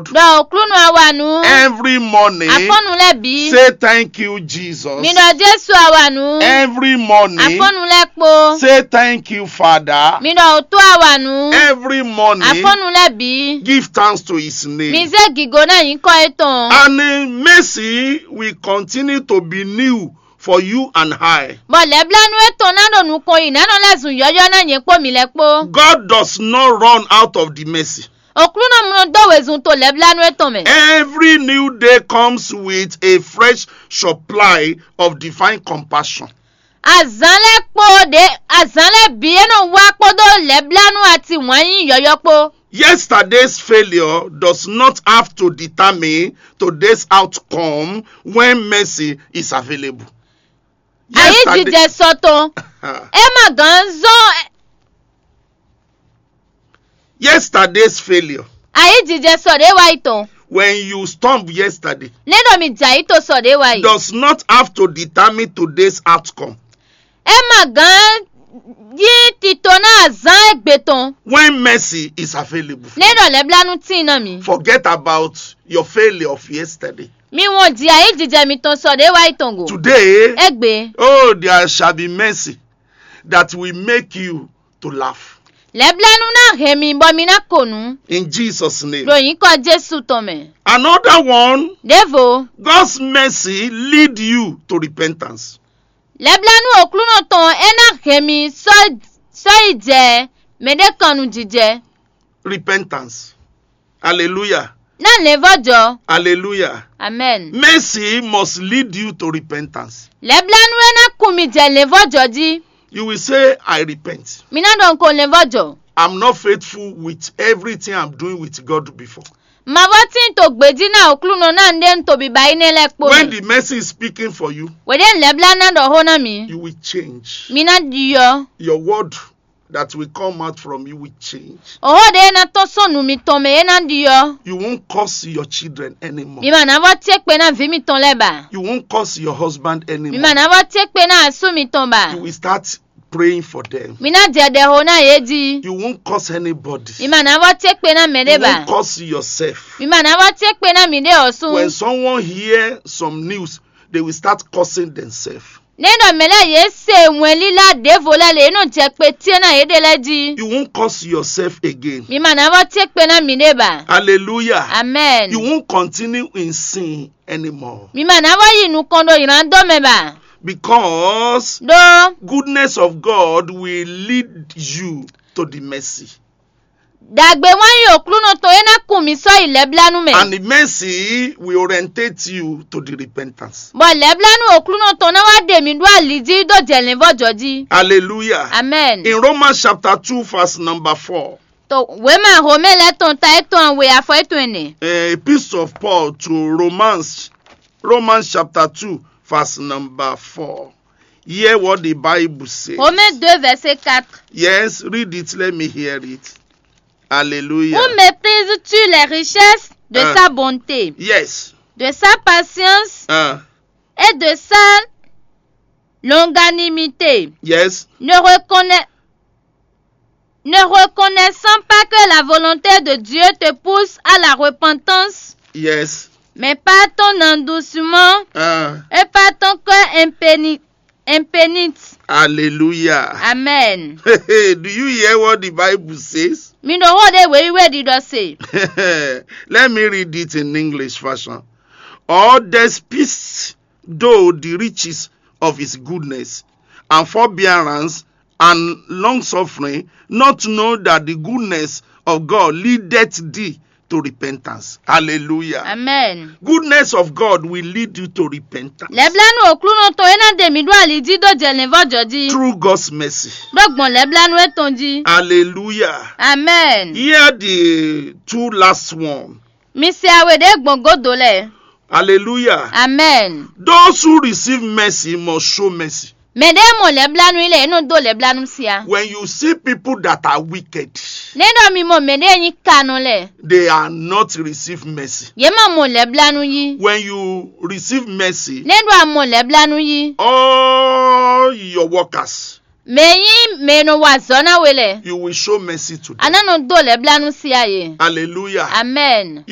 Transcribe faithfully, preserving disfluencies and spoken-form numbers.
ɖɔ Oklúnɔ a wa nǔ. Every morning, afɔ́nnu lɛ́ɛ bǐ. Say thank you, Jesus. Mi ɖɔ Jésù a wa nǔ. Every morning, afɔ́nnu lɛ́ɛ kpó. Say thank you, Father. Mi ɖɔ òtó a wa nǔ. Every morning, afɔ́nnu lɛ́ɛ bǐ. Give thanks to his name. Mi zé gǐgó ná nyǐkɔ étɔn. And uh, mercy will continue to be new for you and I. Bɔ lɛ̌blánú étɔn ná ɖo nukɔn yi ná nɔ lɛ́ zun yɔ́yɔ́ ná nyɛ kpó mi lɛ́ɛ kpó. God does not run out of the mercy. Oklúnɔ mlɔ dó wezun to lɛ̌blánú étɔn mɛ. Every new day comes with a fresh supply of divine compassion. Azǎn lɛ́ɛ kpó ɖě azǎn lɛ́ɛ bǐ é nɔ wá kpódó lɛ̌blánú ati wǎn nyí yɔ́yɔ́ kpó. Yesterday's failure does not have to determine today's outcome when mercy is available. Ayǐjijɛ sɔ tɔn é ma gǎn zɔ́n. Yesterday's failure, Ayǐjijɛ sɔ ɖě wá yi tɔn. When you stumble yesterday, Nɛ́ ɖɔ mi jɛ ayǐ to sɔ ɖě wá yi. Does not have to determine today's outcome. É ma gǎn yí tito ná azǎn égbé tɔn. When mercy is available, Nɛ́ ɖɔ lɛ̌blánú tíin ná mi. Forget about your failure of yesterday. Mi wɔn ji ayǐjijɛ mitɔn sɔ ɖě wá yi tɔn go. Today, Égbé, oh, there shall be mercy that will make you to laugh. Lɛ̌blánú ná hɛn mi bɔ mi ná ko nǔ. In Jesus' name. Ɖo nyǐkɔ Jésù tɔn mɛ. Another one, Ɖěvo, God's mercy lead you to repentance. Lɛ̌blánú Oklúnɔ tɔn é ná hɛn mi sɔ́ sɔ́ yi jɛ mɛɖékɔnnu jijɛ. Repentance. Hallelujah. Ná lɛ̌nvɔ́jɔ. Hallelujah. Amen. Mercy must lead you to repentance. Lɛ̌blánú é ná kun mi jɛ lɛ̌nvɔ́jɔ jí. You will say, I repent. Mi ná ɖɔ nko lɛ̌nvɔ́jɔ. I'm not faithful with everything I'm doing with God before. Ma vɔ tín to gbějí ná Oklúnɔ ná un ɖe un to biba énɛ́ lɛ́ɛ kpó When mɛ. The mercy is speaking for you, Wěɖé lɛ̌blá ná ɖɔ xó ná mi. You will change. Mi ná ɖyɔ. Your word that will come out from you will change. Òxó ɖé ná tɔ́n sɔ́ nǔ mitɔn mɛ é ná ɖyɔ. You won't curse your children anymore. Mi ma ná vɔ cé kpe ná vǐ mitɔn lɛ́ɛ ba. You won't curse your husband anymore. Mi ma ná vɔ cé kpe ná asú mitɔn ba. You will start praying for them. Mi ná jɛ ɖɛ xó ná yě jí. You won't curse anybody. Mi ma ná vɔ cé kpe ná mɛ ɖé You ba. Won't curse yourself. Mi ma ná vɔ cé kpe ná mi ɖé ɔsún. When someone hear some news, they will start cursing themselves. Nɛ́ ɖɔ mɛ lɛ́ɛ yě se wɛnlílá ɖěvo lɛ́ɛ lě é nɔ jɛ kpe cyé ná yěɖée lɛ́ɛ jí. You won't curse yourself again. Mi ma ná vɔ cé kpe ná miɖée ba. Hallelujah. Amen. You won't continue in sin anymore. Mi ma ná vɔ yi nukɔn ɖo nylǎndɔ mɛ ba. Because Ɖó goodness of God will lead you to the mercy. Ɖagbe wán yi Oklúnɔ tɔn é ná kun mi sɔ́ yi lɛ̌blánú mɛ. And the mercy will orientate you to the repentance. Bɔ lɛ̌blánú Oklúnɔ tɔn ná wá ɖe mi ɖó ali jí ɖó jɛ lɛ̌nvɔ́jɔ jí. Hallelujah. Amen. In Romans chapter two, verse number four. To wěma Homé lɛ́ɛ tɔn ta étɔn we afɔ étɔn ɛnɛ. A epistle of Paul to Romans, Romans chapter two, verse number four. Hear what the Bible says. Homé deux verset quatre. Yes, read it. Let me hear it. Hallelujah. Où méprises-tu les richesses de Hein. Sa bonté, Yes. De sa patience Hein. Et de sa longanimité? Yes. Ne reconnais, ne reconnaissant pas que la volonté de Dieu te pousse à la repentance, Yes. Mais par ton endoucement Hein. Et par ton cœur impéni-, impénit. Hallelujah. Amen. Do you hear what the Bible says? Mi ɖo xó ɖé wěwíwé ɖiɖɔ se. Let me read it in English fashion. Or despise thou the riches of his goodness and forbearance and long suffering, not know that the goodness of God leadeth thee to repentance. Hallelujah. Amen. Goodness of God will lead you to repentance. Lɛblanu Oklunɔ tɔn e na ɖe mi ɖó ali jí ɖó jɛ lɛnvɔjɔ jí. Through God's mercy. Ɖó gbɔn lɛblanu etɔn jí. Hallelujah. Amen. Here the two last one. Mi se awe ɖe gbɔn godo lɛ. Hallelujah. Amen. Those who receive mercy must show mercy. Mɛ ɖe mɔ lɛblanu yi lɛ, e nɔ do lɛblanu sia. When you see people that are wicked, Ne ɖɔ mi mɔ mɛ ɖe nyi kanɔ lɛ, they are not receive mercy. Ye ma mɔ lɛblanu yi. When you receive mercy, Ne ɖɔ a mɔ lɛblanu yi, all your workers, mɛ nyi mɛ nɔ wa azɔ̌ na we lɛ, you will show mercy to them. A na nɔ do lɛblanu sia ye. Hallelujah. Amen. You